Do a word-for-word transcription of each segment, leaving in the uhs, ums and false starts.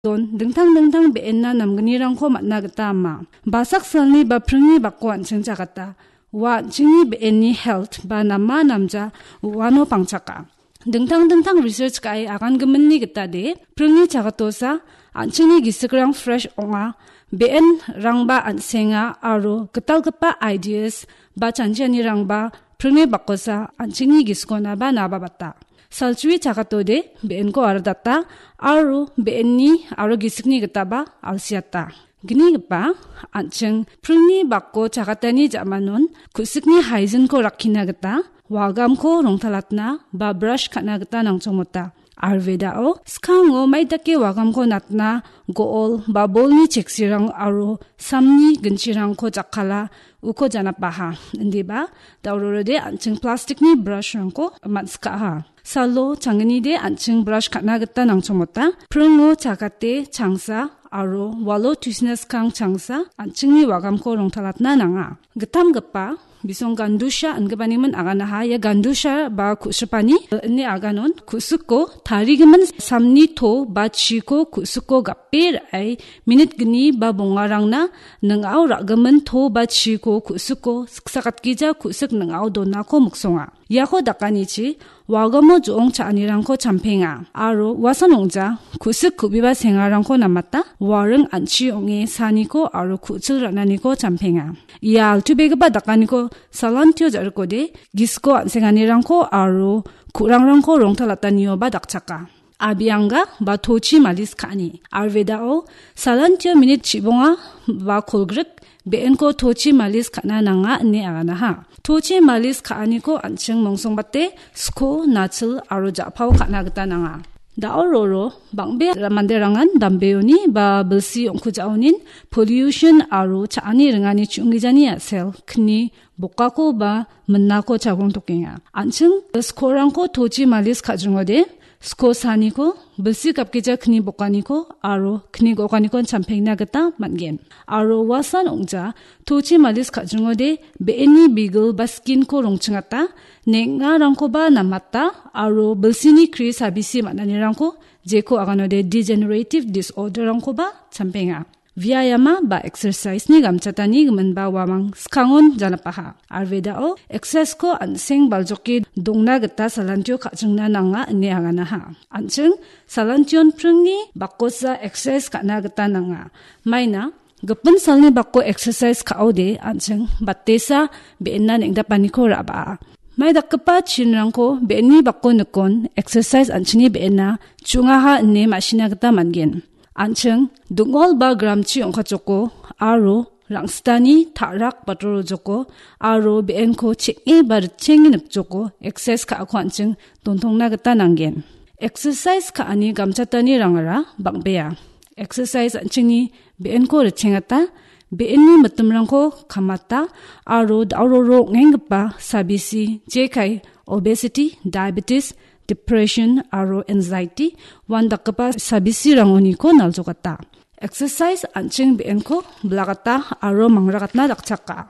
don dingtang dingtang be·enna namgnirangko man·na gita ama. Basak salni ba pringni bako an·ching chagata. Ua an·chingni be·enni health ba nama namja uano pangchaka. Dingtang dingtang research ka·e agangiminni gita de, pringni chagatosa an·chingni gisikrang fresh ong·a, be·enrangba an·senga aro gitalgipa ideas ba chanchianirangba pringni bakosa an·chingni gisikonaba nababata. Salchui chagatode be·enko aradata aro be·enni aro gisikni gitaba alsiata. Gnigipa, an·ching pringni bako chagatani ja·manon ku·sikni haizinko rakkina gita wagamko rongtalatna ba brush ka·na gita nangchongmota. Ayurvedao skango maidake wagamko natna go·ol ba bolni cheksirang aro samni ginchirangko jakkala uko janapaha. Indiba, daurorode an·ching plastikni brushrangko man·sikaha. Salo changnide an·ching brush ka·na gita nangchongmota. Pringo chagate changsa aro walo tuisina skang changsa an·chingni wagamko rongtalatna nanga. Gitamgipa bisong gandusha ingipanimin aganaha. Ia gandusha ba ku·sipani, eh, ine aganon ku·siko tarigimin samni to ba chiko ku·siko gape ra·e minit gni ba bongarangna ning·ao ra·gimin to ba chiko ku·siko siksagatgija ku·sik ning·ao donako miksonga. Iako dakanichi wagamo jo·ong cha·anirangko champenga aro uasan ong·ja ku·sik ku·biba sengarangko namata waring an·chi ong·e saniko aro ku·chil ra·naniko champenga. Ia altubegipa dakaniko salantio ja·rikode gisiko an·senganirangko aro ku·rangrangko rongtalatanioba dakchaka. Abianga ba tochi malis ka·ani. Ayurvedao salantio minit chibonga ba kolgrik be·enko tochi malis ka·na nanga ine aganaha. Tochi malis ka·aniko an·ching mongsongbate sko, nachil aro ja·pao ka·na gita nanga. Da·o roro bang·bea manderangan dambeoni ba bilsi ong·kujaonin pollution aro cha·ani ringani chu·onggijani a·sel kni bokako ba minnako chagrongtokenga. An·ching skorangko tochi malis ka·jringode, sko saniko, bilsi gapgija kni bokaniko aro kni gokaniko champengna gita man·gen. Aro uasan ong·ja tochi malis ka·jringode be·eni bigil ba skinko rongchingata, neng·arangkoba namata aro bilsini kri sabisi man·anirangko jeko aganode degenerative disorderrangkoba champenga. Viayama ba exercise-ni gamchatani giminba uamang skangon janapaha. Ayurvedao exercise-ko an·seng baljoke dongna gita salantio ka·chingna nanga ine aganaha. An·ching salantion pringni bakosa exercise ka·na gita nanga. Maina gipin salni bako exercise ka·ode an·ching batesa be·enna neng·dapaniko ra·baa. Mai dakgipa chinrangko be·enni bako nikon exercise an·chingni be·enna chu·ongaha ine ma·sina gita man·gen. An·ching ding·ol ba gramchi ong·katjoko aro rangsitani ta·rak batorojoko aro be·enko cheng·e ba ritchenge nipjoko exercise ka·ako an·ching dontongna gita nanggen. Exercise ka·ani gamchatani rangara bang·bea. Exercise an·chingni be·enko ritchengata, be·enni mitimrangko kamata aro da·ororo ong·enggipa sabisi jekai obesity, diabetes, depression aro anxiety uandakgipa sabisirangoniko naljokata. Exercise an·ching be·enko bilagata aro mangrakatna dakchaka.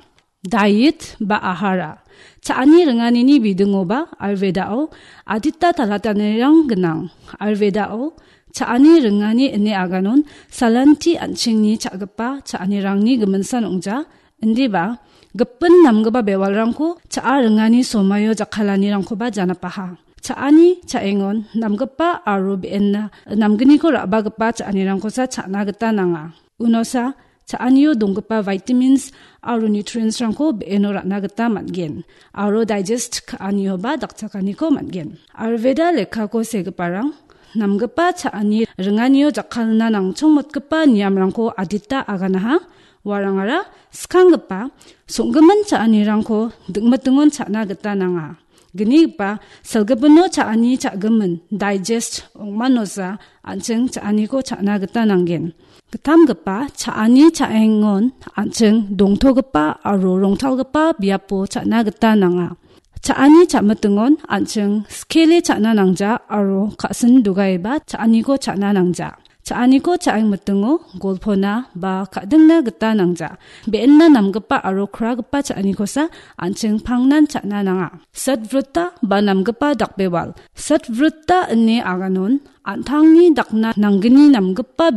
Diet ba ahara. Cha·ani ringanini bidingoba Ayurvedao adita talatanirang gnang. Ayurvedao cha·ani ringani ine aganon salanti an·chingni cha·gipa cha·anirangni giminsan ong·ja. Indiba gipin namgipa bewalrangko cha·a ringani somaio jakkalanirangkoba janapaha. Cha·ani cha·engon namgipa aro be·enna namgniko ra·bagipa cha·anirangkosa cha·na gita nanga. Unosa cha·anio donggipa vitamins aro nutrients-rangko be·eno ra·na gita man·gen aro digest ka·anioba dakchakaniko man·gen. Ayurveda lekkako segiparang namgipa cha·ani ringanio jakkalna nangchongmotgipa niamrangko adita aganaha. Uarangara skanggipa song·gimin cha·anirangko dingmitingon cha·na gita nanga. Gnigipa salgipino cha·ani cha·gimin, digest ong·manosa an·ching cha·aniko cha·na gita nanggen. Gitamgipa cha·ani cha·engon an·ching dongtogipa aro rongtalgipa biapo cha·na gita nanga. Cha·ani cha·mitingon an·ching skele cha·na nangja aro ka·sin dogaiba cha·aniko cha·na nangja. Cha·aniko cha·engmitingo golpona ba ka·dingna gita nangja. Be·enna namgipa aro kragipa cha·anikosa an·ching pangnan cha·na nanga. Satvrata ba namgipa dakbewal. Satvrata ine aganon an·tangni dakna nanggni namgipa